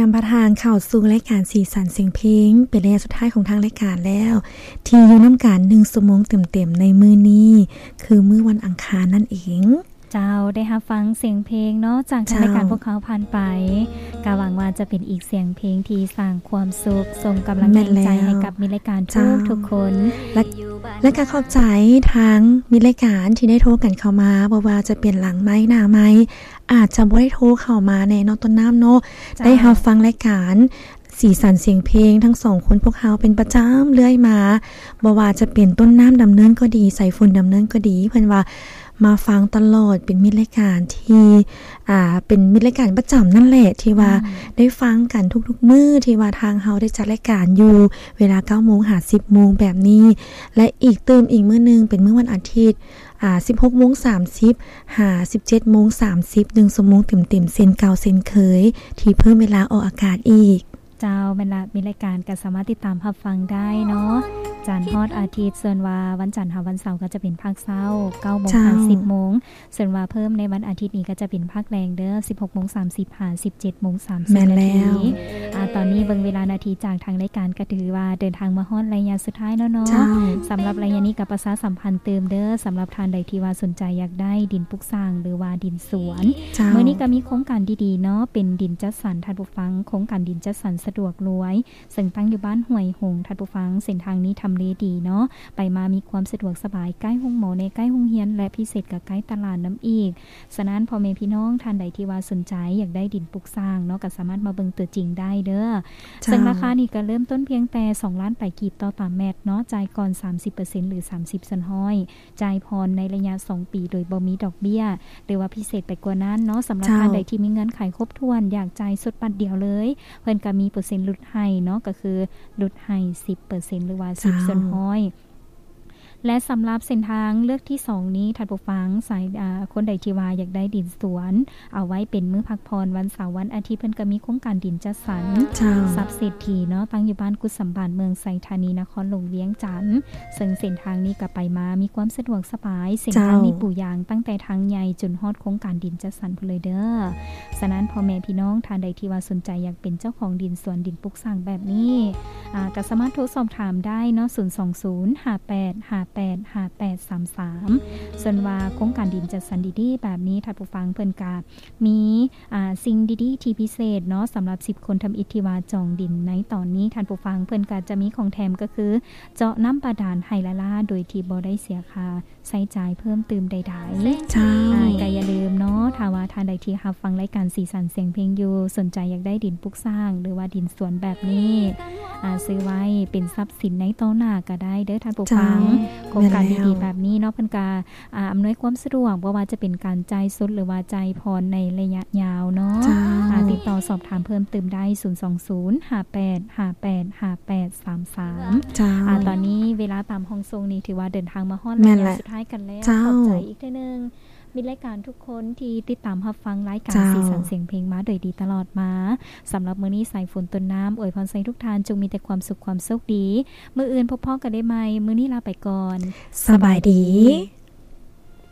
ນຳພາທ່ານເຂົ້າສູ່ລາຍການສີສັນສຽງເພງ ເປັນໄລຍະສຸດທ້າຍຂອງທາງລາຍການແລ້ວ ທີ່ຢູ່ນຳກັນໜຶ່ງຊົ່ວໂມງເຕັມໆໃນມື້ນີ້ ຄືມື້ວັນອັງຄານນັ້ນເອງ. ເຈົ້າ ໄດ້ຮັບຟັງສຽງເພງເນາະ ຈາກທາງລາຍການພວກເຮົາຜ່ານໄປ ກໍຫວັງວ່າຈະເປັນອີກສຽງເພງທີ່ສ້າງຄວາມສຸກ ສົ່ງກຳລັງແຮງໃຈໃຫ້ກັບມິດລາຍການທຸກໆຄົນ ແລະ ແລະກໍຂອບໃຈທາງມິດລາຍການທີ່ໄດ້ໂທກັນເຂົ້າມາ ບໍ່ວ່າຈະເປັນຫຼັງໄມ ໜ້າໄມ ອາດຈະບໍ່ໄດ້ໂທເຂົ້າມາແນ່ເນາະ ຕົ້ນນ້ຳເນາະ ໄດ້ຮັບຟັງລາຍການສີສັນສຽງເພງທັງສອງຄົນພວກເຮົາເປັນປະຈຳເລື້ອຍມາ ບໍ່ວ່າຈະເປັນຕົ້ນນ້ຳດຳເນີນກໍດີ ສາຍຝົນດຳເນີນກໍດີ ເພິ່ນວ່າມາຟັງຕະຫຼອດ ເປັນມິດລາຍການທີ່ ອ່າ ເປັນມິດລາຍການປະຈຳນັ້ນແຫຼະ ທີ່ວ່າໄດ້ຟັງກັນທຸກໆມື້ ທີ່ວ່າທາງເຮົາໄດ້ຈັດລາຍການຢູ່ເວລາເກົ້າໂມງຫາສິບໂມງແບບນີ້ ແລະ ອີກຕື່ມອີກມື້ໜຶ່ງເປັນມື້ວັນອາທິດ ອ່າ ສິບຫົກໂມງສາມສິບ ຫາ ສິບເຈັດໂມງສາມສິບ ໜຶ່ງຊົ່ວໂມງເຕັມໆ ເຊັ່ນເກົ່າເຊັ່ນເຄີຍ ທີ່ເພີ່ມເວລາອອກອາກາດອີກ. ເຈົ້າ ແມ່ນລະ ມີລາຍການກໍສາມາດຕິດຕາມຮັບຟັງໄດ້ເນາະ ຈັນຮອດອາທິດ ສ່ວນວ່າວັນຈັນຫາວັນເສົາກໍຈະເປັນພາກເຊົ້າ ເກົ້າໂມງຫາສິບໂມງ ສ່ວນວ່າເພີ່ມໃນວັນອາທິດນີ້ກໍຈະເປັນພາກແລງເດີ ສິບຫົກໂມງສາມສິບ ຫາ ສິບເຈັດໂມງສາມສິບນາທີ. ອ່າ ຕອນນີ້ເບິ່ງເວລານາທີຈາກທາງລາຍການ ກໍຖືວ່າເດີນທາງມາຮອດໄລຍະສຸດທ້າຍແລ້ວເນາະ. ສຳລັບໄລຍະນີ້ກໍປະຊາສຳພັນຕື່ມເດີ ສຳລັບທ່ານໃດທີ່ວ່າສົນໃຈຢາກໄດ້ດິນປຸກສ້າງ ຫຼືວ່າດິນສວນ ມື້ນີ້ກໍມີໂຄງການດີໆເນາະ ເປັນດິນຈັດສັນ ທ່ານຜູ້ຟັງ ໂຄງການດິນຈັດສັນສະດວກລວຍ ເຊິ່ງຕັ້ງຢູ່ບ້ານຫ້ວຍຫົງ ທ່ານຜູ້ຟັງ ເສັ້ນທາງນີ້ທຳເລດີເນາະ ໄປມາມີຄວາມສະດວກສະບາຍ ໃກ້ໂຮງໝໍແດ່ ໃກ້ໂຮງຮຽນ ແລະ ພິເສດກໍໃກ້ຕະຫຼາດນຳອີກ. ສະນັ້ນ ພໍ່ແມ່ພີ່ນ້ອງທ່ານໃດທີ່ວ່າສົນໃຈຢາກໄດ້ດິນປຸກສ້າງເນາະ ກໍສາມາດມາເບິ່ງຕົວຈິງໄດ້ເດີ. ເຊິ່ງລາຄານີ້ກໍເລີ່ມຕົ້ນພຽງແຕ່ສອງລ້ານປາຍກີບຕໍ່ຕາແມັດເນາະ ຈ່າຍກ່ອນສາມສິບເປີເຊັນ ຫຼື ສາມສິບສ່ວນຮ້ອຍ ຈ່າຍຜ່ອນໃນໄລຍະສອງປີໂດຍບໍ່ມີດອກເບ້ຍ ຫຼືວ່າພິເສດໄປກວ່ານັ້ນເນາະ. ສຳລັບທ່ານໃດທີ່ມີເງື່ອນໄຂຄົບຖ້ວນ ຢາກຈ່າຍສົດບັດດຽວເລີຍ ເພິ່ນກໍມີເປີເຊັນຫຼຸດໃຫ້ເນາະ ກໍຄືຫຼຸດໃຫ້ສິບເປີເຊັນ ຫຼືວ່າສິບສ່ວນຮ້ອຍ. ແລະ ສຳລັບເສັ້ນທາງເລືອກທີສອງນີ້ ທ່ານຜູ້ຟັງ ສາຍ ອ່າ ຄົນໃດທີ່ວ່າຢາກໄດ້ດິນສວນ ເອົາໄວ້ເປັນມື້ພັກຜ່ອນ ວັນເສົາ ວັນອາທິດ ເພິ່ນກໍມີໂຄງການດິນຈັດສັນ ຊັບເສດຖີເນາະ ຕັ້ງຢູ່ບ້ານກຸດສຳບັນ ເມືອງໄຊທານີ ນະຄອນຫຼວງວຽງຈັນ ເຊິ່ງເສັ້ນທາງນີ້ກໍໄປມາມີຄວາມສະດວກສະບາຍ ເສັ້ນທາງນີ້ປູຢາງຕັ້ງແຕ່ທາງໃຫຍ່ຈົນຮອດໂຄງການດິນຈັດສັນພຸ້ນເລີຍເດີ. ສະນັ້ນ ພໍ່ແມ່ພີ່ນ້ອງທ່ານໃດທີ່ວ່າສົນໃຈຢາກເປັນເຈົ້າຂອງດິນສວນ ດິນປຸກສ້າງແບບນີ້ ອ່າ ກໍສາມາດໂທສອບຖາມໄດ້ເນາະ ສູນສອງສູນ ຫ້າແປດຫ້າແປດຫ້າແປດສາມສາມ. ສ່ວນວ່າໂຄງການດິນຈັດສັນດີໆແບບນີ້ ທ່ານຜູ້ຟັງ ເພິ່ນກະມີ ອ່າ ສິ່ງດີໆທີ່ພິເສດເນາະ ສຳລັບສິບຄົນທຳອິດທີ່ວ່າຈອງດິນໃນຕອນນີ້ ທ່ານຜູ້ຟັງ ເພິ່ນກະຈະມີຂອງແຖມ ກໍຄືເຈາະນ້ຳບາດານໄຮ່ລ້າໆ ໂດຍທີ່ບໍ່ໄດ້ເສຍຄ່າ ໃຊ້ຈ່າຍເພີ່ມຕື່ມໃດໆ. ເຈົ້າ. ອ່າ ກໍຢ່າລືມເນາະ ຖ້າວ່າທ່ານໃດທີ່ຮັບຟັງລາຍການສີສັນສຽງເພງຢູ່ ສົນໃຈຢາກໄດ້ດິນປຸກສ້າງ ຫຼືວ່າດິນສວນແບບນີ້ ອ່າ ຊື້ໄວ້ເປັນຊັບສິນໃນຕໍ່ໜ້າກໍໄດ້ເດີທ່ານຜູ້ຟັງ. ເຈົ້າ. ໂຄງການດີໆແບບນີ້ເນາະ ເພິ່ນກໍ ອ່າ ອຳນວຍຄວາມສະດວກ ບໍ່ວ່າຈະເປັນການຈ່າຍສົດ ຫຼືວ່າຈ່າຍຜ່ອນໃນໄລຍະຍາວເນາະ. ເຈົ້າ. ອ່າ ຕິດຕໍ່ສອບຖາມເພີ່ມຕື່ມໄດ້ ສູນສອງສູນ ຫ້າແປດຫ້າແປດຫ້າແປດສາມສາມ. ເຈົ້າ. ອ່າ ຕອນນີ້ເວລາຕາມຫ້ອງສົ່ງນີ້ ຖືວ່າເດີນທາງມາຮອດໄລຍະສຸດທ້າຍກັນແລ້ວ. ເຈົ້າ. ຂອບໃຈອີກເທື່ອໜຶ່ງ ມິດລາຍການທຸກຄົນທີ່ຕິດຕາມຮັບຟັງລາຍການສີສັນສຽງເພງມາໂດຍດີຕະຫຼອດມາ. ສຳລັບມື້ນີ້ ສາຍຝົນຕົ້ນນ້ຳອວຍພອນໃຫ້ທຸກທ່ານຈົ່ງມີແຕ່ຄວາມສຸກຄວາມໂຊກດີ. ມື້ອື່ນພົບພໍ້ກັນໄດ້ໃໝ່. ມື້ນີ້ລາໄປກ່ອນ. ສະບາຍດີ.